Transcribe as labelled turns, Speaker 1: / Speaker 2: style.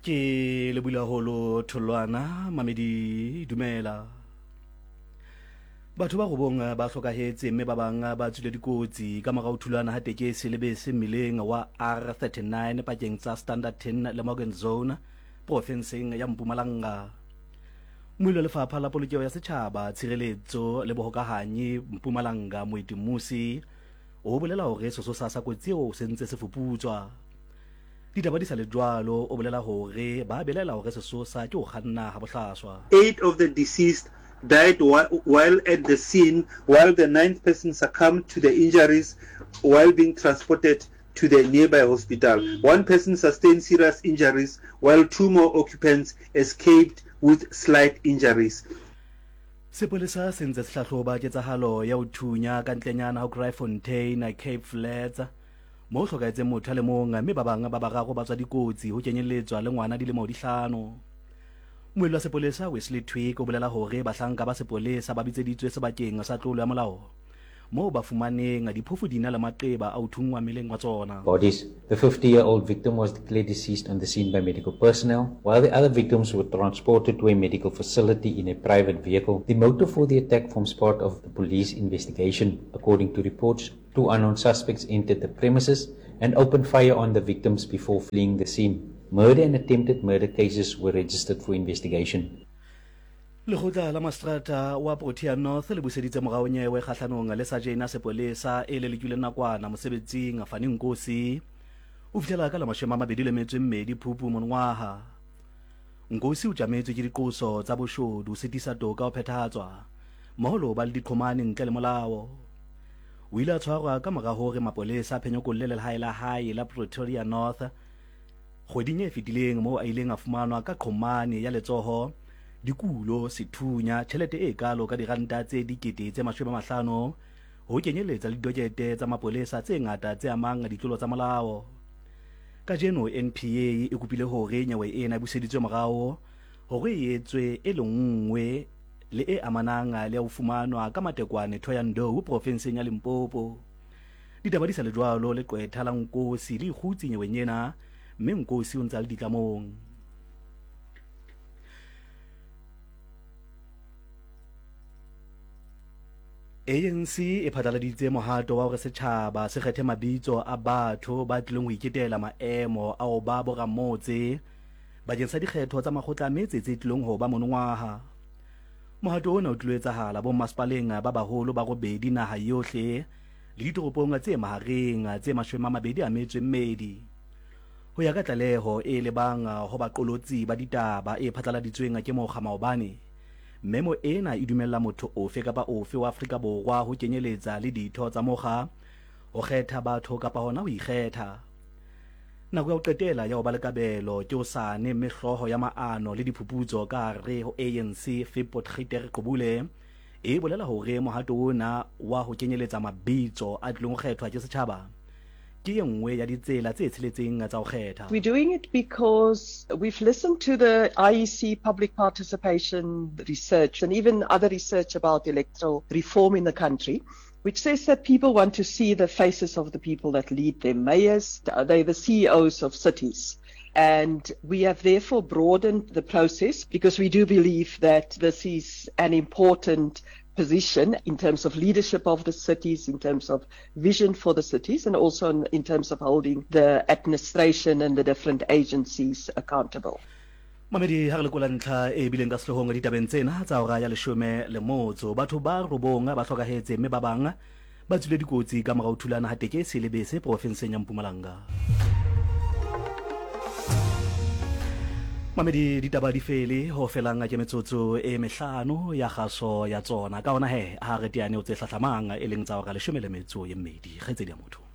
Speaker 1: Ke lebula holo tholwana mamedi dumela. Batho ba robong ba hlokahetse mme ba bang ba tswile dikotsi ka mora ho thulana ha tekesi le bese mmileng wa R39 pakeng tsa Standerton le Morgan Zone profenseng ya Mpumalanga. Mmuelli wa Lefapha la Polokeho ya Setjhaba, Tshireletso le Bohokahanyi Mpumalanga Moeti Mmusi o bolela hore sesosa sa kotsi eo se ntse se fuputswa. Ditaba di sa le jwalo, o bolela hore ba belaela hore sesosa ke ho kganna ha bohlaswa.
Speaker 2: Eight of the deceased died while at the scene while the ninth person succumbed to the injuries while being transported to the nearby hospital. One person sustained serious injuries while two more occupants escaped with slight injuries.
Speaker 1: Sepolesa se ntse se hlahloba ketsahalo ya ho thunya ka ntlenyana ho Kraaifontein, Cape Flats, moo ho hlokahetseng motho a le mong mme ba bang ba bararo ba tswa dikotsi ho kenyelletswa le ngwana dilemo di hlano. Mmuelli wa sepolesa Wesley Twigg o bolela hore bahlanka ba sepolesa ba bitseditswe sebakeng sa tlolo ya molao moo ba fumaneng diphofu di na le maqeba a ho thunngwa mmeleng wa tsona.
Speaker 3: Bodies. The 50-year-old victim was declared deceased on the scene by medical personnel, while the other victims were transported to a medical facility in a private vehicle. The motive for the attack forms part of the police investigation. According to reports, two unknown suspects entered the premises and opened fire on the victims before fleeing the scene. Murder and attempted murder cases were registered for investigation.
Speaker 1: Lekgotla la Maseterata wa Protea North le buseditse morao nyewe kgahlanong le sajene ya sepolesa e lelekilweng nakwana mosebetsing Fani Nkosi o fihlela ka la 28 Phupu monongwaga. Nkosi o tšametswe ke diqoso tsa boshodu, sitisa toka ho phethahatswa mmoho le ho ba le diqhomane ntle le molao. O ile a tshwarwa ka mora hore mapolesa a phenyekolle lehae la hae la Pretoria North Kgweding e fetileng moo a ileng a fumanwa ka qhomane ya letsoho, dikulo, sethunya, tjhelete e kaalo ka diranta tse 50,000, ho kenyeletsa le didokete tsa mapolesa tse ngata tse amang ditlolo tsa molao. Kajeno NPA e kopile hore nyewe ena e buseditswe morao hore e etswe e le nngwe le e amanang le ya ho fumanwa ka matekwane Thohoyandou profenseng ya Limpopo. Ditaba di sa le jwalo, leqwetha la Nkosi le ikgutse nyeweng ena mme Nkosi o ntse a le ditlamong. ANC e phatlaladitse mohato wa hore setjhaba se kgethe mabitso a batho ba tlileng ho iketela maemo a ho ba boramotse bakeng sa dikgetho tsa makgotla a metse tse tlileng ho ba monongwaha. Mohato ona o tlilo etsahala bommasepaleng ba baholo ba robedi naha yohle le ditoropong tse mahareng tse 28. Ho ya ka tlaleho e lebang ho baqolotsi ba ditaba e phatlaladitsweng ke mokga maobane, memo ena e dumella motho ofe kapa ofe wa Afrika Borwa ho kenyeletsa le ditho tsa mokga ho kgetha batho kapa hona ho ikgetha. Nako ya ho qetela ya ho ba le kabelo ke hosane mme hlooho ya maano le diphuputso ka hare ho ANC Fip Potgieter Gqubule e bolela hore mohato ona wa ho kenyeletsa mabitso a tlilong ho kgethwa ke setjhaba ke ye nngwe ya ditsela tse tsheletseng tsa ho kgetha.
Speaker 4: We're doing it because we've listened to the IEC public participation research and even other research about electoral reform in the country, which says that people want to see the faces of the people that lead them, mayors, they're the CEOs of cities. And we have therefore broadened the process because we do believe that this is an important position in terms of leadership of the cities, in terms of vision for the cities, and also in, in terms of holding the administration and the different agencies accountable.
Speaker 1: Mamedi ha re lekola ntlha e bileng ka sehloohong ditabeng tsena tsa hora ya leshome le motso, batho ba robong ba hlokahetse mme ba bang ba tswile dikotsi ka mora ho thulana ha tekesi le bese porofenseng ya Mpumalanga. Mamedi ditaba di fele ho felang ke metsotso e mehlano ya kgaso ya tsona. Ka hona he, ha re teane ho tse hlahlamang e leng tsa hora leshome le metso e mmedi. Kgaitsedi ya motho.